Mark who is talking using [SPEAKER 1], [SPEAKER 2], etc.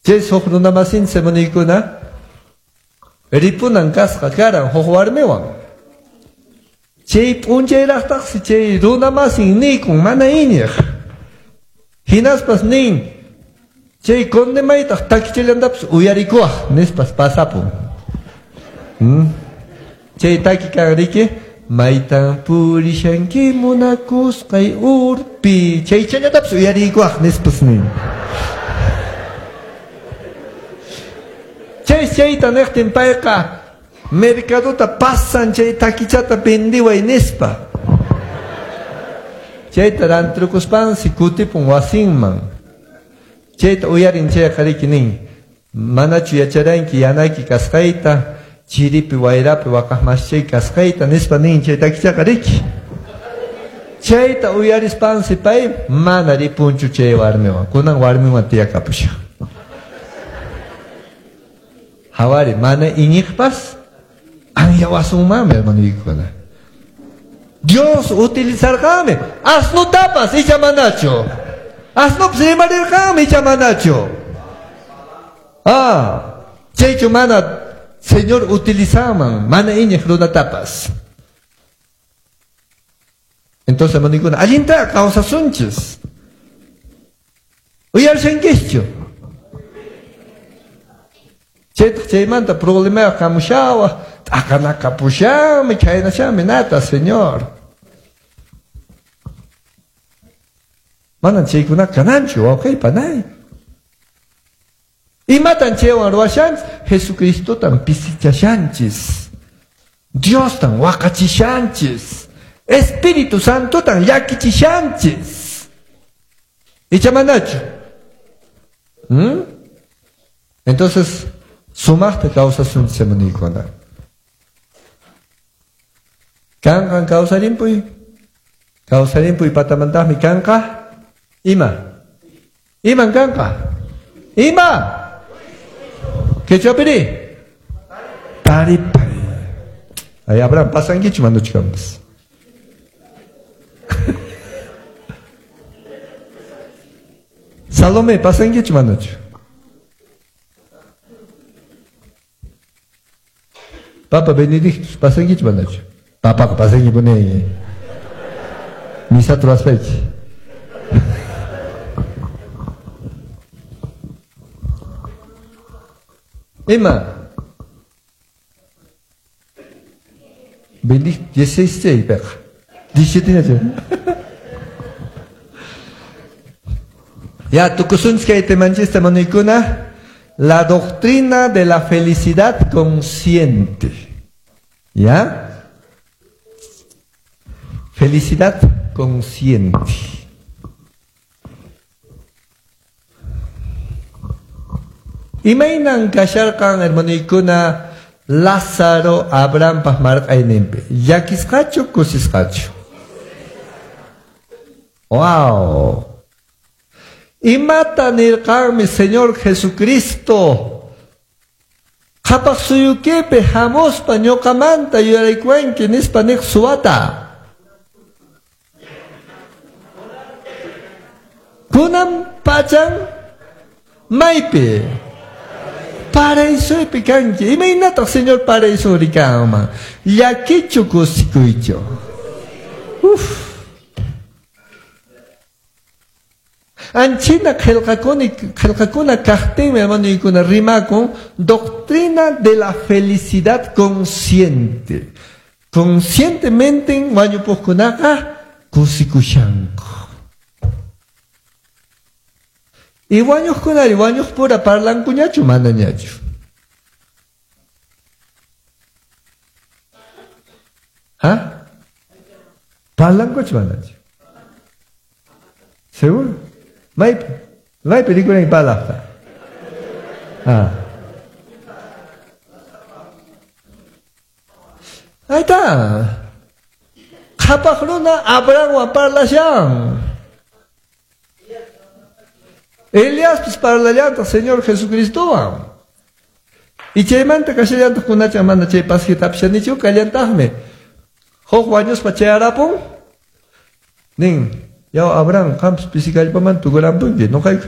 [SPEAKER 1] Chay huk runamasinchis hermanoykuna ripunan kasqa karan huk warmiwan. Chay p'unchayraqtaqsi chay runamasin nikun mana iñiq. Hinaspas nin chay condemaytaq takichallantapas uyarikuwaq nispas pasapun. Chay taki kan riki maytan purishanki munakusqay urpi chay challatapas uyarikuwaq nispas nin. Chay chayta niqtin payqa mercadota pasan chay takichata vendiway nispa. Chayta rantrukuspansi kutipun wasinman. Chayta uyarin chayqa riki nin manachu yacharanki yanayki kasqayta chiripi wayrapi waqaqmaschay kasqayta nispa nin chay takichaqa riki. Chayta uyarispansi pay mana ripunchu chay warmiwan. Kunan warmiwan tiyakapushan. Hawari mana iñiqpas anyawasunmanmi hermanoykuna. Dios utilizarqanmi asnutapas icha manachu. Asnupas rimarirqanmi icha manachu. Chaychu mana Señor utilizanman mana iñiq runatapas. Entonces hermanoykuna allinta kawsasunchis. Uyarishankischu. Chaytaq chaymanta problema hamushawaq t'aqanakapushanmi chhaynashanmi nata Señor. Manan chaykuna kananchu wawqey panay. Imatan chaywan ruwashanchis? Jesucristotan pisichashanchis. Diostan waqachishanchis. Espíritu Santotan llakichishanchis. Icha manachu? Entonces, sumaqta kawsasunchis hermanoykuna. Kanqan kawsarimpuy. Kawsarimpuy patamantaqmi kanqa ima. Iman kanqa? Ima. Quechuapiri? Taripay. Ay, Abraham, pasankichu manachu kanpas? Salomé, pasankichu manachu? Papa Benedictus, pasankichu manachu? Papaqa pasankipuni. Misata ruwaspayki. Ima? Benedicto 16 peqa. 17 Ya, tukusunchis kay temanchis hermanoykuna. La doctrina de la felicidad consciente. ¿Ya? Felicidad consciente. Imaynan kasharqan hermanoykuna Lázaro Abrahampas marq'ayninpi. Llakisqachu kusisqachu? Wow. Imata nirqanmi Señor Jesucristo. Qhapaq suyukipi hamuspa ñuqamanta yuyaraykuwanki nispa niq suwata. Kunan pachan maypi? Paraísopi kanki. Imaynataq Señor paraísori kanman? Llakichu kusikuychu? Uf. Anchina qillqakuna kaqtinmi hermanoykuna rimakun doctrina de la felicidad consciente. Conscientemente wañupuqkunaqa kusikushanku. Y wañuqkunari wañuqpura parlankuñachu manañachu? ¿Ah? Parlankuchu manachu? Seguro? Maypi? Maypi rikuran parlaqta? Ah. Ahí está. Qhapaq runa Abrahamwan parlashan. Eliaspis parlallantaq Señor Jesucristowan. Y chaymanta kashallantaq kunacha mana chay pasjitapishanichu kallantaqmi. Huk wañuspa chayarapun nin yaw Abraham qampas pisikallpaman tukurampunki noqayku